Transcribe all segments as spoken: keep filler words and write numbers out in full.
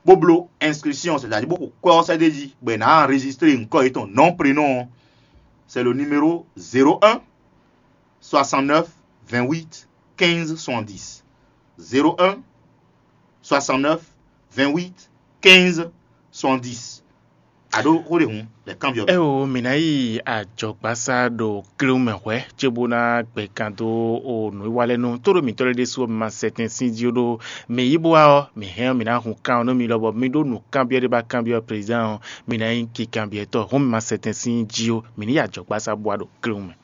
bó bló inscription, c'est-à-dire bó xo kwɛ́ ɔ́ sɛ́ d'é jí, bɔ è nǎ enregistré nyǐkɔ yětɔn, nom, prénom ɔ́, c'est le numéro zéro un soixante-neuf vingt-huit quinze soixante-dix. Zéro un soixante-neuf vingt-huit quinze soixante-dix. Aɖó xó ɖe hǔn lɛ kanbyɔ́ mì. Eo, mǐ ná yi ajɔ̌gbásá ɖo klewun mɛ hwɛ̌, cóbó ná gbɛkan dó o nǔwiwa lɛ́ɛ nú tóɖó mǐtɔn lɛ́ɛ ɖésú ɔ́, mi ma sɛ tɛn sín jí ó ɖó mǐ yi bó wá ɔ́, mǐ hɛn ɔ́, mǐ ná hun kan ɔ́ nú mi lɔ, bɔ mi ɖó nǔkanbyɔ́ ɖé ba kanbyɔ́ prezidán ɔ́, mi ná nyí kikanbyɔ́tɔ́. Hǔn mi ma sɛ tɛn sín jí ó, mǐ ní yi ajɔ̌gbásá bó wá ɖo klewun mɛ.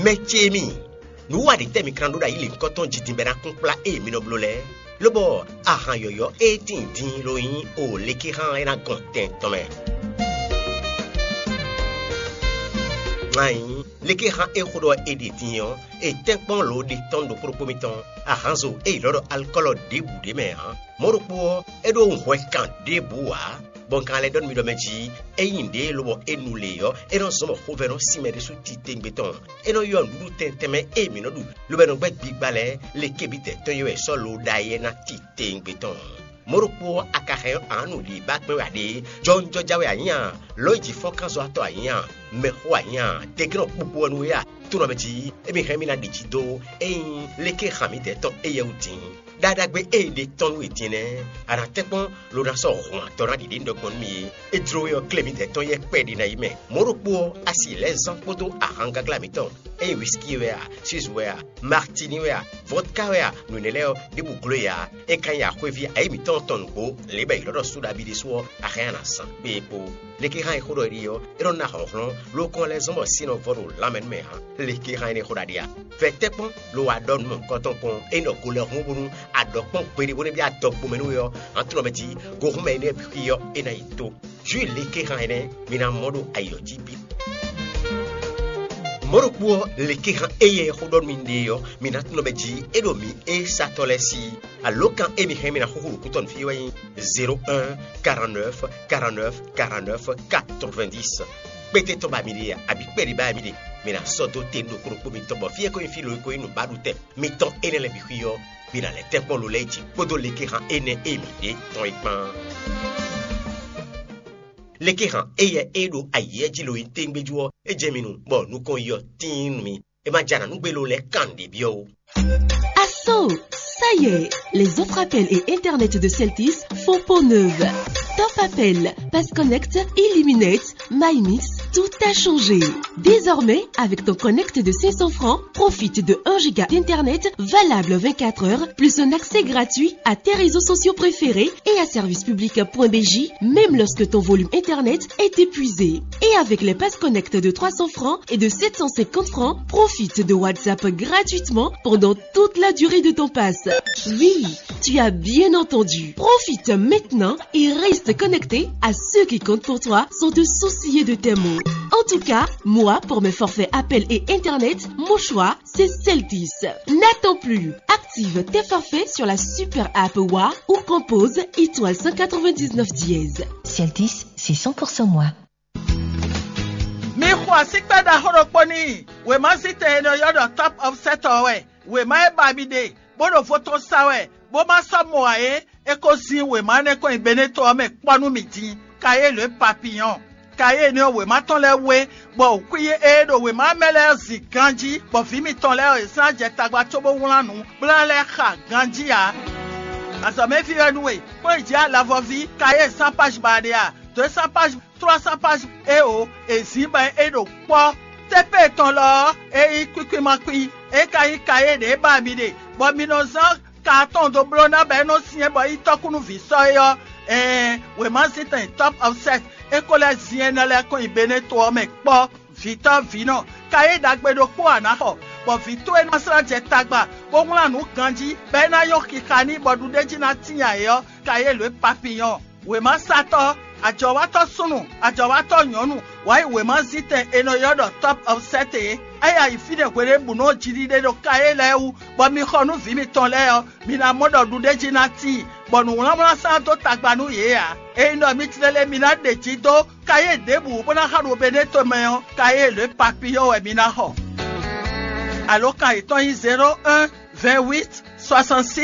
Mɛ ce mi, nǔ wa ɖě tɛ́ mi ka ná ɖó ɖo ayǐ lěhunkɔtɔn jí din bɔ é ná kún kplá ée mi nɔ bló lɛ́ɛ? Lóbɔ ahan yɔ̌yɔ́ e tíin din lo nyí o lékexán e ná gɔn tɛn tɔn mɛ. Nya nyí lékexán e xó ɖɔ è ɖe din ɔ́, è tɛ́nkpɔ́n lǒ ɖe tɔn ɖokpó ɖokpó mitɔn, ahanzo e è ylɔ́ ɖɔ alukɔ́lɔ ɖěbǔ ɖé mɛ ǎ. Mɔ̌ ɖokpó ɔ́, é ɖó hwɛ kan ɖěbǔ ǎ, bɔ un ka lɛ́ ɖɔ nú mi ɖɔ mɛ jí, ényí nǔɖé lobɔ é nu lě ɔ́, é nɔ zɔ́n bɔ xovɛ́ nɔ sín mɛ ɖésú titewungbe tɔn. É nɔ ylɔ́ nǔɖuɖu tɛntɛn mɛ e mǐ nɔ ɖu, lobo é nɔ gbɛ́ gbigba lɛ́ɛ, le kébǐ tɛ́ tɔn ylɔ́ wɛ è sɔ́ lǒ ɖ'ayǐ é ná titewungbe tɔn. Mɔ̌ ɖokpó ɔ́, a ka hɛn ɔ́, ǎ nǔ ɖi ba kpɛ́n wɛ ǎ ɖé, jɔwunjɔja wɛ a nyǐ a, lɔ̌nyijǐfɔ́nkánzɔ́watɔ́ a nyǐ a, mɛxó a nyǐ a, deglɔ́n kpukpu wɛ nú we a, tónɔ mɛ jí, émí hɛn mì ná ɖi jí dó, ényí léké han mǐdɛɛ tɔn éyɛ́ wú din. Ɖaɖagbe e è ɖe tɔn nú we din nɛ́, a nǎ tɛ́nkpɔ́n lo ná sɔ́ hɔn atɔ́ ná ɖiɖe nú ɖɔ gbɔn nú mì é. É jló we ɔ́, klé mǐdɛɛ tɔn yɛ́ kpɛɖé ná yi mɛ. Mɔ̌ ɖokpó ɔ́, a si lɛ́ zán kpódó ahangagla mǐtɔn, ényí whisky wɛ a, suze wɛ a, martini wɛ a, vodka wɛ a, nǔ énɛ́ lɛ́ɛ ɔ́, ɖěbǔ gló e ǎ. É ka nyí axwéví ayǐ mǐtɔn tɔn nǔgbó, lě bɔ è ylɔ́ ɖɔ Suɖabi ɖésú ɔ́, a hɛn ana zǎn kpé é kpó. Lekéhan e xó ɖɔ é ɖe ɔ́, é nɔ ná hlɔ̌nhlɔ́n, ló kɔn lɛ́ zɔ́n bɔ sin nɔ vɔ ɖo lanmɛ nú mɛ ǎ. Lekéhan énɛ́ xó ɖaɖe a? Vɛ tɛ́nkpɔ́n lo wá ɖɔ nú mɔ̌hunkɔtɔn kpɔ́n, é nɔ go lɛ́ hún bónú a ɖɔ kpɔ́n gbeɖé bó nɛ́ byɔ́ adɔgbomɛ nú we ɔ́, hǎn tunɔ mɛ jí, gohúnmɛ énɛ́ xwí ɔ́, é ná yi tó. Jǔ lekéhan énɛ́ mi ná mɔ ɖo ayǐ ɔ́ jí bǐ. Mɔ̌ ɖokpó ɔ́, lekéhan éyɛ́ xó ɖɔ nú mi ɖe ɔ́, mi ná tunɔ mɛ jí, é ɖo mǐ e satɔ́ lɛ́ɛ sí. Alǒkan e mi hɛn mi ná xúxú ɖo kútɔ́ nú fí wɛ nyí zéro un quarante-neuf quarante-neuf quarante-neuf quatre-vingt-dix. Kpéte tɔn ba mi ɖe a, abǐ kpɛɖé ba mi ɖe, mi ná sɔ́ dó te nú ɖokpó ɖokpó mitɔn, bɔ fí e ko nyí fí lo e ko nyí nǔbaɖutɛn mitɔn énɛ́ lɛ́ɛ bǐ xwí ɔ́, mi ná lɛ́ tɛ́nkpɔ́n lo lɛ́ɛ jí kpódó lekéhan énɛ́ e mi ɖe tɔn é kpán. Lekéhan éyɛ́ e ɖo ayǐ jí lo nyí téŋgbéjú ɔ́, é jɛ mi nu, bɔ nukɔn yi ɔ́ tíin nú mi. É ma jɛ anǎ nú gbé lo lɛ́ɛ kan ɖě byɔ́ ó. Asso, ça y est, les offres appel et internet de Celtis font peau neuve. Top appel, pass connect, illuminate, my mix, tout a changé. Désormais, avec ton connect de cinq cents francs, profite de un giga d'internet valable vingt-quatre heures, plus un accès gratuit à tes réseaux sociaux préférés et à service public point B J, même lorsque ton volume internet est épuisé. Et avec les pass connect de trois cents francs et de sept cent cinquante francs, profite de WhatsApp gratuitement pendant toute la durée de ton pass. Oui, tu as bien entendu. Profite maintenant et reste connecté à ceux qui comptent pour toi sans te soucier de tes mots. En tout cas, moi, pour mes forfaits appel et internet, mon choix, c'est Celtis. N'attends plus. Active tes forfaits sur la super app Wa ou compose étoile cent quatre-vingt-dix-neuf dièse. Celtis, c'est cent pour cent moi. Mi xo asíkpɛ́ ɖaxó ɖokpó n'i. Wěma zítɛn e nɔ ylɔ́ ɖɔ Top Offset ɔ́ wɛ. Wěma e ba mi ɖe, bó ɖo vo tɔn sa wɛ, bó ma sɔ́ mɔ ǎ é, é ko zín wěma énɛ́ kɔn nyi Beneto ɔ́ mɛ kpɔ́ nú mì din. Kayélu e papiyɔn. Kayélu ɔ́, wěma tɔn lɛ́ɛ wé, bɔ xwí e ɖo wěma mɛ lɛ́ɛ zin ganjí, bɔ vǐ mitɔn lɛ́ɛ ɔ́, è zán jɛ tagba cóbó wlán nǔ kplá lɛ́ɛ xa ganjí ǎ. Azɔ̌mɛví wɛ nú we, kplɔ́n yi jǐ alavɔví, kayé zán páj ba ɖe a? Dǒ e zán páj trois cents pages eo è zǐn bɔ é ɖo kpɔ́. Tépée tɔn lɔ ɔ́, é nyí kwíkwímakpí, é ka nyí kayé ɖě ba mi ɖe, bɔ mi nɔ zán ka atɔn dó bló ná bɔ é nɔ syɛ́n bɔ é nyí tɔ́kúnúví sɔ́ é ɔ́, ɛɛn, wěmazíntɛn Top Offset é ko lɛ́ zin énɛ́ lɛ́ɛ kɔn nyi Beneto ɔ́ mɛ kpɔ́. Vǐtɔ́ vǐnɔ, kayé ɖagbe ɖokpó a nǎ xɔ, bɔ vǐ towe ná slá jɛ tagba, bó wlán nǔ ganjí, bɔ é ná nyɔ́ xixa n'i bɔ ɖuɖéjí ná tíin ayǐ ɔ́, kayé lǒ e papiyɔn. Wěmasatɔ́, ajɔ̌watɔ́ súnnu, ajɔ̌watɔ́ nyɔ̌nu, wǎ yi wěmazítɛn è nɔ ylɔ́ ɖɔ Top Offset é. É ya yi fínɛ́ hweɖěbǔnu ɔ́ jiɖiɖe ɖo kayé lɛ́ɛ wú, bɔ mi xɔ nú vǐ mitɔn lɛ́ɛ ɔ́, mi ná mɔ ɖɔ ɖuɖéjí ná tíin, bɔ nǔwlánwlán sán dó tagba nú yě ǎ. Ényí ɖɔ mi tlélé mi ná ɖe jí dó kayé ɖěbǔ bó ná xa ɖo Beneto mɛ ɔ́, kayé lě papiyɔ́ wɛ mi ná xɔ. Alǒkan yětɔn nyí zéro un vingt-huit soixante-six